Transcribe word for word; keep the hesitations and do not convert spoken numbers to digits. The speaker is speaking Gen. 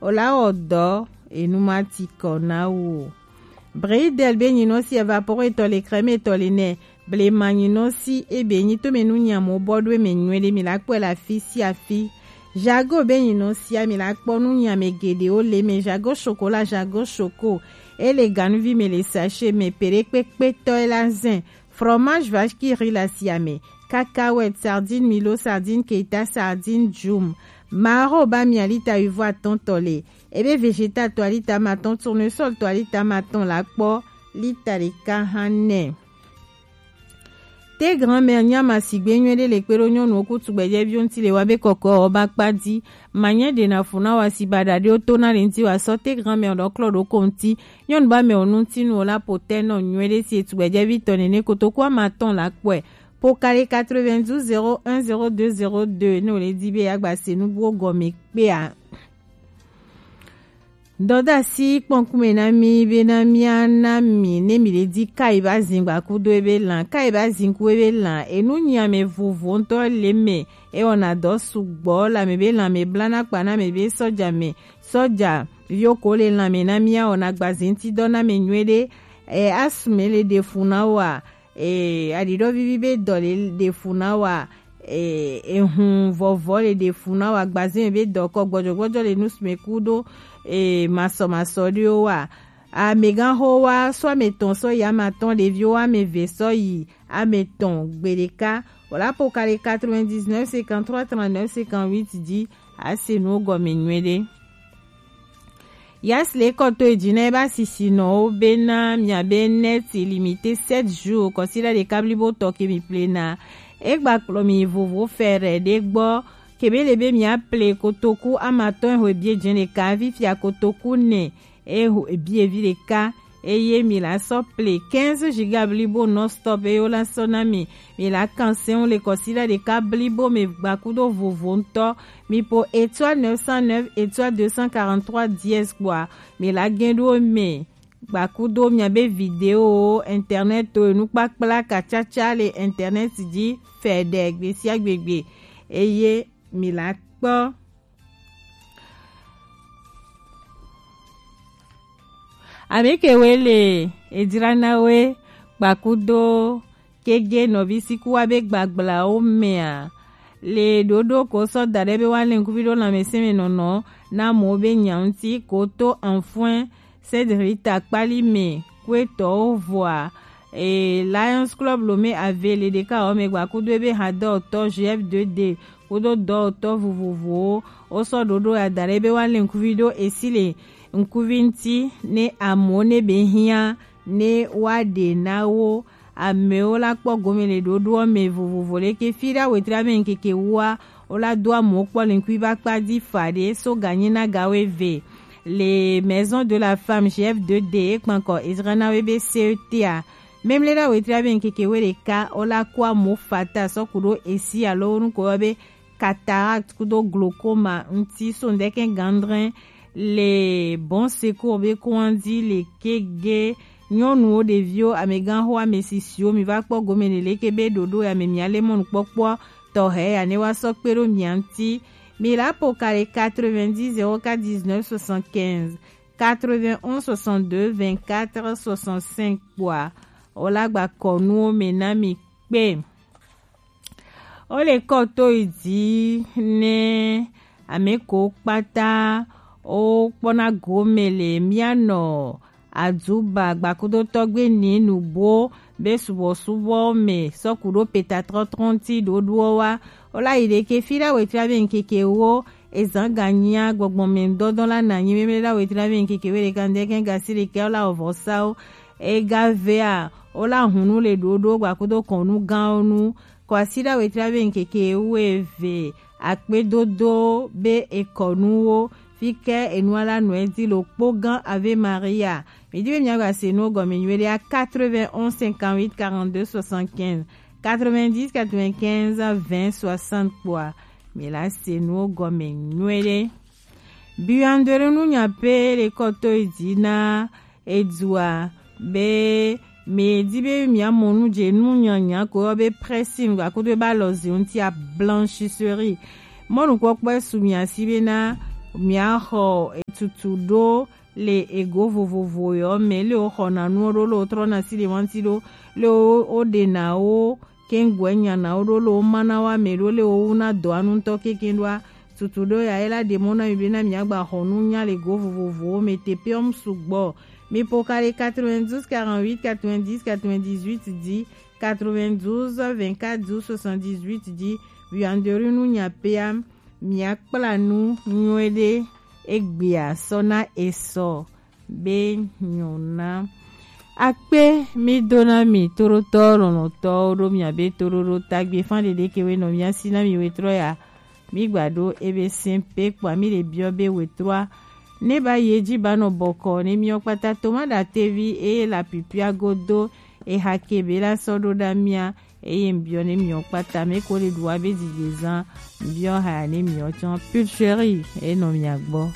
o la wɔ dɔ, enu ma ti kɔ na wo. Bridel be nyinɔ si, evapore tɔ le, crème tɔ le nɛ. Blema nyinɔ si, ebe nyi to me nu nyamo bɔ do me nyuie ɖe, mi la kpɔe le afi si afi. Jago be nyinɔ sia, mi la kpɔ nu nyame geɖewo le me. Jago chocolat, jago choco, ele ganuvi me, le sachet me, peɖekpekpetɔ e la zɛn. Fromage vache qui rit la siame, cacahuète, sardine Milo, sardine Keita, sardine Jum. Maro ba mia lita wuivo atɔntɔ le. Ebe végétal to alita matɔn, tournesol to alita matɔn la kpɔ lita ɖeka hã nɛ. Te grand-mère nyama sigbe nyuie ɖe le kpe ɖo nyɔnuwo ku tugbɛjɛviwo ŋuti le wa be kɔkɔ ɔ ba kpa di. Manyɛ ɖe na fu na wa si ba ɖaɖewo to na le ŋuti wa sɔ te grand-mère ɖɔ klɔ ɖo ko ŋuti. Nyɔnu ba mɛ o ŋuti nu o la po tɛ nɔ nyuie ɖe si etugbɛjɛvi tɔ nene kotoku ama tɔn la kpɔe. Po kale quatre-vingt-douze zéro un zéro deux zéro deux ne o le di be ya gba se nu buwo gɔme kpea. Dɔdasi kpɔnkume na mi be na mia na mi ne mi le di kai ba zin gba kudo ebe lan, kai ba zin ku ebe lan, enu nyame vovo ŋutɔ le me, e wɔna dɔ sugbɔ le ame be lan me bla na kpa na me be sɔja me, sɔja viwo ko le lan me na mia wɔna gba zin ti dɔ na me nyuie ɖe, e asu me le ɖe fu na wa, e aɖiɖɔ vivi be dɔ le ɖe fu na wa, e ehun vɔvɔ le ɖe fu na wa, gbazin be dɔ kɔ gbɔdzɔgbɔdzɔ le nu sume kudo e masɔmasɔ ɖewo wa. Amegan ho wa sɔ ame tɔn sɔ yi ama tɔn, ɖeviwo ame ve sɔ yi ame tɔn gbeɖeka. Wala po kale quatre-vingt-dix-neuf cinquante-trois trente-neuf cinquante-huit di ase nu gɔme nyuie ɖe. Yas le kɔto edzi na eba sisinɔwo bena miabe net illimité sept jours kɔsiɖa ɖeka blibo tɔ ke mi plena. Egba kplɔ mi vovo fɛrɛ ɖe gbɔ kebe le be mia ple kotoku amatɔn ehwe bie dze ɖeka, fifia kotoku nɛ ehwe bie vi ɖeka. Eye mi la sɔ ple quinze giga blibo non stop eye wo la sɔ na mi. Mi la kan sɛn le kɔsiɖa ɖeka blibo me gbakudo vovo ŋutɔ. Mi po étoile neuf cent neuf étoile deux cent quarante-trois dièse kpoa mi la gɛn ɖo me gbakudo miabe video, internet to enukpakpla katsatsa le internet dzi fɛɖɛ gbesiagbegbe. Eye mi la kpɔ. Ame kewoe le edzra na we gbakudo kege nɔvi sikuwa be gbagblãwo mea? Le ɖoɖo ko sɔ da ɖe be woalé ŋkuvi ɖo lãmesẽ me nɔnɔ na amewo be nya ŋuti ko to Enfin Cédric Takpali me kuetɔwo vɔa, e, Lions Club Lomé ave le ɖeka wɔ me gbakudo ebe hadɔtɔ G F deux D kudo dɔwɔtɔ vovovowo wosɔ ɖoɖo ya da ɖe be woalé ŋkuvi ɖo esi le ŋkuvi ŋuti ne amewo ne be hiã ne woaɖe na wo. Amewo la kpɔ gome le ɖoɖoɔ me vovovo leke fi ɖa wetri ame ŋkeke wua wola do amewo kpɔ le ŋkui ba kpa di fa ɖe so ganyi na gawo eve. Le Maison de la Femme G F deux D ekpankɔ Ezra na we be C E T a. Memle ɖa wetri ame ŋkeke we ɖeka wola ko amewo fata sɔ ku ɖo esi alo wo nuko yɔ be cataracte kudo glaucoma ŋuti so ŋdɛkɛ gandrɛn le Bon Secours be kɔn dzi le kege. Nyɔnuwo, ɖeviwo, amegãxo, amesisiwo, mi va kpɔ gome le leke be ɖoɖo ya me mia le mɔnukpɔkpɔ tɔxɛ ya ne wa sɔ kpe ɖo mia ŋuti. Mi la po ka le quatre-vingt-dix zéro quatre dix-neuf soixante-quinze, quatre-vingt-onze soixante-deux vingt-quatre soixante-cinq kpoa, o la gba kɔ nuwo me na mi kpe. Wo le kɔ to yi dzi ne ame ko kpata wo kpɔna gome le mia nɔ Aduba gbakudo tɔgbe ni nubo be subɔsubɔ me sɔku ɖo peta trɔtrɔnti ɖoɖoɔ wa. Wo la yi ɖeke fi ɖa wetri ame ŋkeke wo ezan ganyia gbɔgbɔ me dɔdɔ la na nyi meme ɖa wetri ame ŋkeke we ɖeka ŋdɛkɛ gasi ɖeke wo la wɔ vɔsawo. Ega vea wo la hunu le ɖoɖo gbakudo kɔnu gãwo nu. Kɔasiɖa wetri ame ŋkeke wuieve akpedodo be ekɔnuwo fike enua la nɔe di lo kpo gã Ave Maria. Mi di be mia gba se nuwo gɔme nyuie ɖe à quatre-vingt-onze cinquante-huit quarante-deux soixante-quinze, quatre-vingt-dix quatre-vingt-quinze vingt soixante kpoa, mi la se nuwo gɔme nyuie ɖe. Biandere nu nya pe le kɔto yi di na edua be mi di be mia mɔ nu dze nu nyanya ko yɔ be pressing gbakudo be alɔzi ŋuti a blanchisserie. Mɔnukpɔkpɔe su mia si be na Mia xɔ etutu ɖo le ego vovovo yɔ mɛ le wo xɔna nuwo ɖo le wo trɔna si ɖe wanti ɖo le wo wo ɖena wo kengɔɛ nyana wo ɖo le wo mana wa mɛ ɖo le wo wuna dɔ anu ŋutɔ keke ɖoa. Tutu ɖo ya ye la ɖe mɔ na mi be na mia gba xɔ nu nya le go vovovowo mɛ te pe ɔm sugbɔ. Mi po ka ɖe quatre-vingt-douze quarante-huit quatre-vingt-dix quatre-vingt-dix-huit dzi, quatre-vingt-douze vingt-quatre dix soixante-dix-huit dzi. Viandori nu nya pea mia kpla nu nyuie ɖe egbea sɔ na esɔ be nyona. Akpe mi do na mi toɖotɔ lɔlɔtɔwo ɖo mia be toɖoɖo tagbe fan ɖeɖe ke we nɔ mia si na mi wetrɔ ya. Mi gba ɖo ebe sɛn pe kpɔ mi ɖe biɔ be wetrɔa ne ba ye dzi ba nɔ bɔkɔ ne miɔ kpata toma ɖa tevi eye la pipia godo eha ke be la sɔ ɖo ɖa mia eye mbiɔ ne miɔ kpata me ko le ɖu wa be dzidze zan mbiɔ ha ne miɔ tsɔ pulcherie enɔ mia gbɔ.